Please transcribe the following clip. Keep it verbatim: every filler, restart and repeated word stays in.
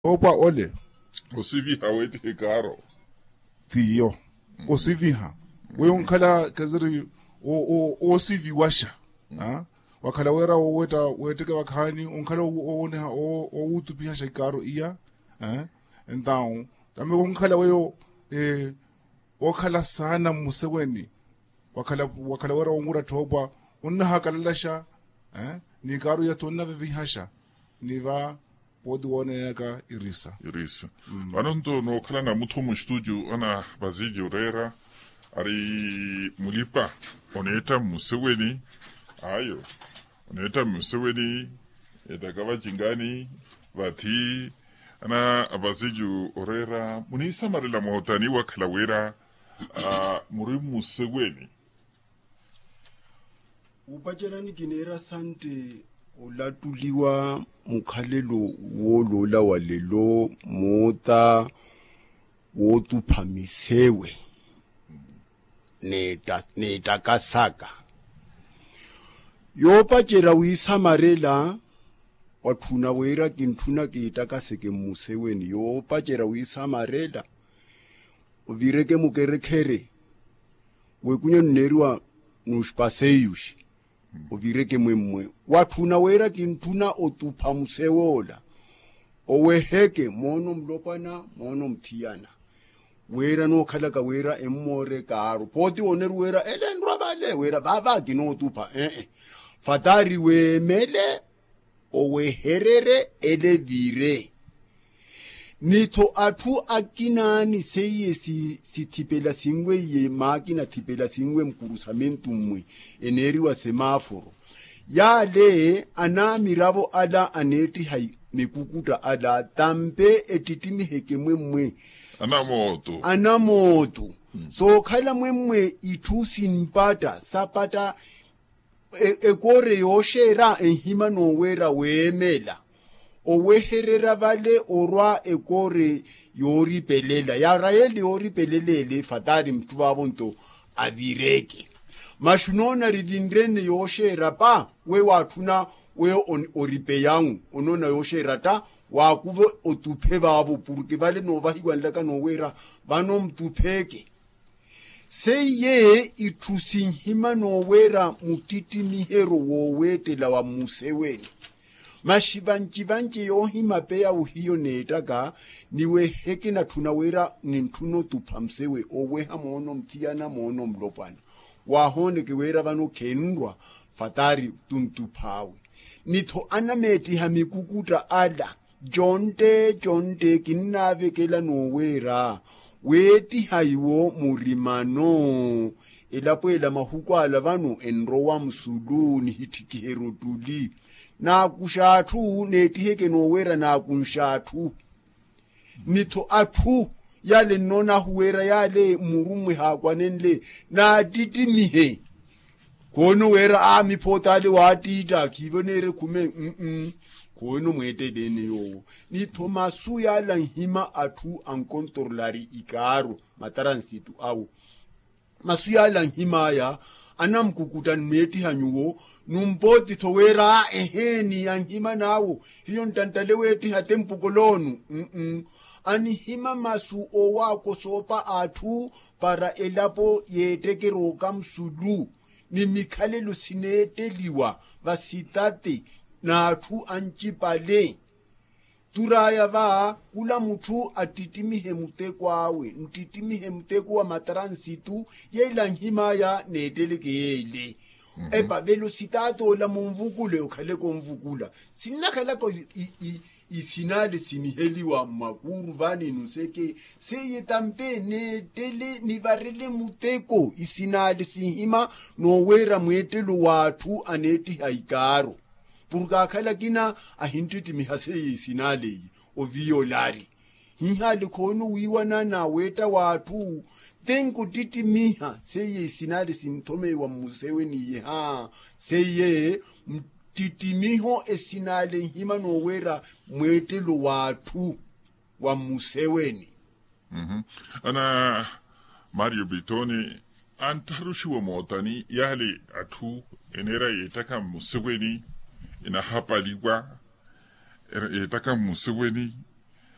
Opa ole. Osiviha wetihe kaaro. Tiyo. Osiviha. Weyo nkhala kaziri. Osiviwasha. Wakhala wera wowetta wetteke vakhaani onkhala owoneha owuttupihasha ikaaro iya. Entawu tame wonkhala weyo okhala saana mmuseweni. Wakhala wera wonwira tthoopa onnahakalalasha. Ni ikaaro iya tonnavivihaxa. Ni va pooti wooneyaka irisa. Irisa. Vano nto nookhala na mutthu muxitudio ana vaziji oreera ari mulipa oneetta mmuseweni. Ayo oneetta mmuseweni. Ettaka vacinkani vathi ana vaziji oreera muniisamarela mootani wakhala wira muri mmuseweni. Wupacerani kineera sante olattuliwa mukhalelo wooloola walelo moota wootupha misewe. Neettakasaka yoopacerya wiisamarela. Watthuna wira kintthuna kiittakaseke mmuseweni yoopacerya wiisamarela. Ovireke mukerekhere w'ekunyo nneeriwa nuxpaseiyuxi. Ovireke mwemmwe watthuna wira kintthuna otupha musew'ola. Oweheke moono mulopwana moono muthiyana. Wira nookhalaka wira emmoore kaaru pooti wooneru wira ele enrwa vale wira vaava kinootupha ee. Fatari weemele owehererye ele vire. Ni-tho atthu akinaani seiye sithipela sinwe iye maakina athipela sinwe mukuru samentu mmwe eneeriwa semaaforo. Yaale anaamiravo ala aneettiha mikukutta ala tampe ettittimiheke mwemmwe anamootu. Sookhala mwemmwe itthu simpatta sapatta ekoore yooxeera enhima nooweera weemela owehererya vale orwa ekoore yooripelela yaarayeli yooripelela ele fataari mutthu vaavo nto avireke. Maxu noona rivinre-ene yooxeera pa we waatthuna we oripeya-u onoona yooxeera tta waakuve otuphe vaavo porke vale noovahiwanlaka nooweera vano mutupheke. Seiye itthu sinhima nooweera muttittimiheryo wooweettela wa mmuseweni. Maxi vanci-vanci yoohimapeya ohiyo neettaka ni weheke natthuna wira nintthuna otupha musewe oweha moono muthiyana moono mulopwana. Waahooneke wira vano khenrwa fataari tuntuph'awe. Ni-tho anameettiha mikukutta ala contte contte kinnaavekela nooweera weettiha iwo murimano. Elapo ela mahuku ala vano enrowa musulu nihitthikiheryo ottuli. Naakuxa atthu neettiheke nooweera naakunxa atthu. Ni-tho atthu yaale nnoon'ahu wira yaale mmurummwe haakwanenle naattittimihe. Khoono wira a miphoot'ale waattiitta khiivoneerye khume. Khoono mweettele-ene yoowo. Ni-tho masu yaala anhima atthu ankontorolari ikaaro mataransitu awo. Masu yaala anhim'aya anamukukutta ni meettiha nyuwo. Numpooti-tho wira eheeni anhima n'awo hiyo ntanttale weettiha tempu koloonu. Anihima masu owaakosoopa atthu para elapo yeettekerya okamusulu ni mikhalelo sineetteliwa vasitate n'atthu ancipale. Tur'aya va khula mutthu attittimihe muteko awe nttittimihe muteko wa mataransitu. Yeela anhim'aya neetteleke yeele. Epa velositaati ola munvukule okhaleke onvukula. Sinnakhalaka isinale siniheliwa mmakuuru vaani nuseke seiye tampe neettele nivarele muteko isinale sinhima nooweera mweettelo w'atthu aneettiha ikaaro. Porke akhala akina ahinttittimiha seiye isinale iyi oviyolari. Hihaale khoono wiiwana n'aweetta w'atthu tenko ottittimiha seiye isinale sinthomeiwa mmuseweni iye haa seiye mttittimiho esinale nhima nooweera mweettelo w'atthu wa mmuseweni. Ana mario pitoni anttharuxiwa mootani yaale atthu eneera yeettaka mmuseweni enahapaliwa yeettaka mmuseweni